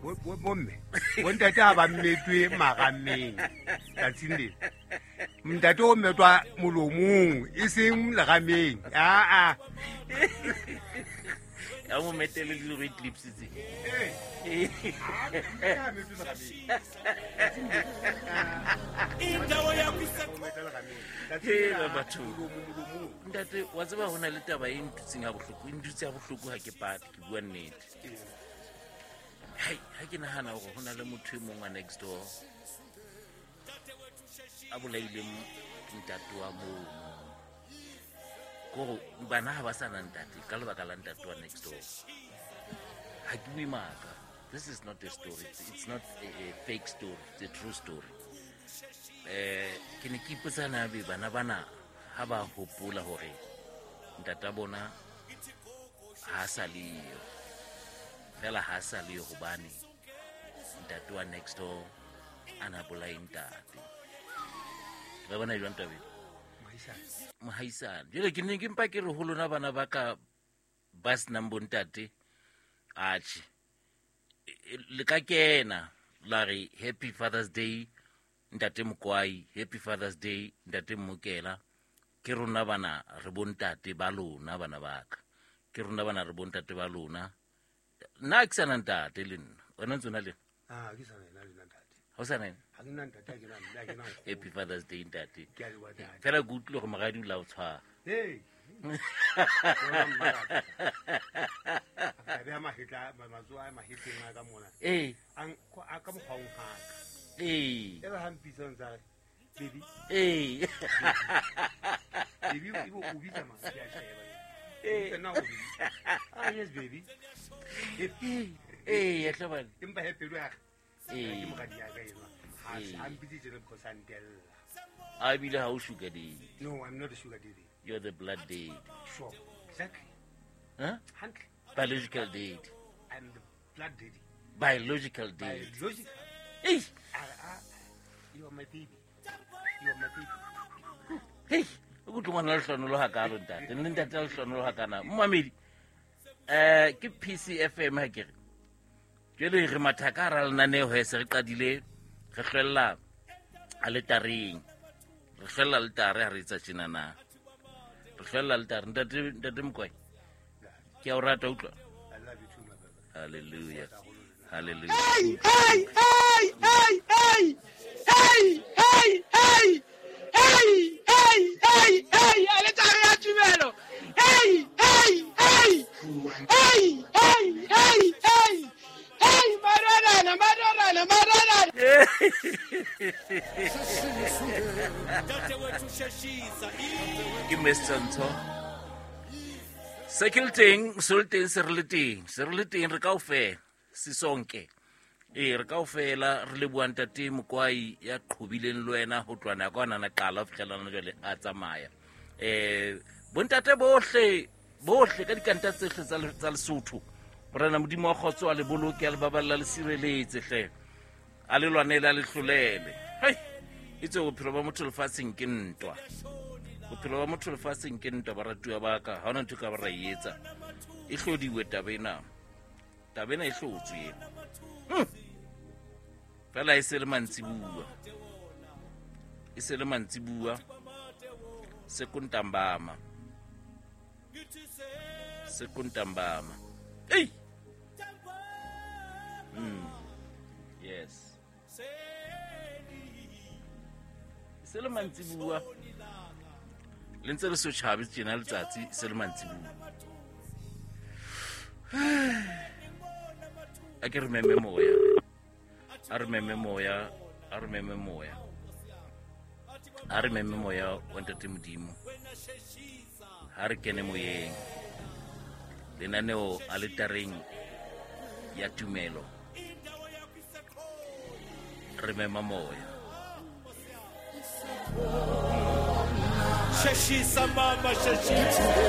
Bomme bontate ha ba mmetwe marameng tsatsing lena, ntate o mmetwa molomong e seng lerameng. Aa, ya mo metele le red lips tse. Hela batho, ntate, wa tseba ho na le taba e ntutseng ha bohloko, e ntutse ha bohloko, ha ke pate, ke bua nnete. Hai, ha ke nahana hore ho na le motho e mong wa next door a bolaileng ntate wa mono, kore bana ha ba sa na ntate ka lebaka la ntate wa next door. Ha ke bue maaka. This is not a story, it's not a fake story, it's a true story. Ke ne ke ipotsa na be bana bana ha ba hopola hore ntata bona ha sa leyo, fela ha sa leyo hobane ntate wa next door a na bolae ntate. Re bona jwang tabeng mohaisane? Jale ke ne ke mpa ke re ho lona bana ba ka ba senang bontate, atjhe, le ka kena la re happy Father's Day ntate Mokwai, happy Father's Day ntate Mmokela. Ke rona bana re bontate ba lona, bana ba ka, ke rona bana re bontate ba lona. Nna ke sana ntate le nna, wena ntse o na le Ah, ke sana ena le nna ntate. Ha o sana ena? Ha ke nna ntate, ha ke na mme, ha ke na nkgono. Happy Father's Day ntate. Ke a leboha, ntate. Fela ke utlwile gore moradi o la o tshwara. Hey. Bona mmaraka. A beha mahetla, matsoho a mahetleng a ka mona. A ka mokgwa o nkgaka. E re ha mpitsa o ntsa re, baby. Baby, o bitsa mang? Ke a sheba. Bitsa nna o baby. Ah, yes, baby. Happy. Ee, hle bana. Empa he pelo ya ka. Ke moradi ya ka enwa. Ha a mpitse tjena because a ntella. A ebile ha o sugar daddy. No, I'm not a sugar daddy. You're the blood daddy. Sure. Exactly. Huh? Hantle. Biological daddy. I'm the blood daddy. Biological daddy. Biological. Hey. You are my baby. You are my baby. Hey, o kutlwe ngwana lehlonolo hakalo ntate. Le ntate a lehlonolo hakana. Mmamedi. Ke PCFM ha ke re. Jwale re matha ka hara lenaneo he se re qadile re hlwella aletareng. Re hlwella aletare ha re etsa tjena na. Re hlwella aletare. Ntate, ntate Mokwai. Ke a o rata, utlwa. I love you too, my brother. Hallelujah. Hallelujah. Hey, hey, hey, hey, hey. Hey, hey, hey. Hey, hey, hey, hey. Aletare ya tumelo. Hey, hey, hey. Hey, hey, hey, hey. Hey, madonna, madonna, madonna. Ke Mr. Ntho. Se ke le teng, se le teng, se re le teng, se re le teng, re kaofela, sisonke. Ee, re kaofela re leboha ntate Mokwai ya qhobileng le wena ho tloha nako a nana qala ho fihlela hona jwale a tsamaya. Bontate bohle, bohle ka dikanta tsohle tsa Lesotho, Morena Modimo wa kgotso a le boloke, a le baballa, le sireletse hle. A le lwanele, a le hlolele. Hei, itse bophelo ba motho lefatsheng ke ntwa. Bophelo ba motho lefatsheng ke ntwa, baratuwa ba ka. Ha hona ntho e ka ba ra e etsa. E hlodiwe taba ena. Taba ena e hlotswe ena. Fela e se le mantsibuwa. E se le mantsibuwa. Sekuntambama. Sekuntambama. Hey! Yes. Se le mantsibuwa. Le ntse le so tjhabe tjena letsatsi, se le mantsibuwa. A ke re meme moya. A re meme moya, a re meme moya. A re meme moya wa Ntate Modimo. Ha re kene moyeng. Lenaneo aletareng ya tumelo. Re mema moya. Sheshisa mama, sheshisa.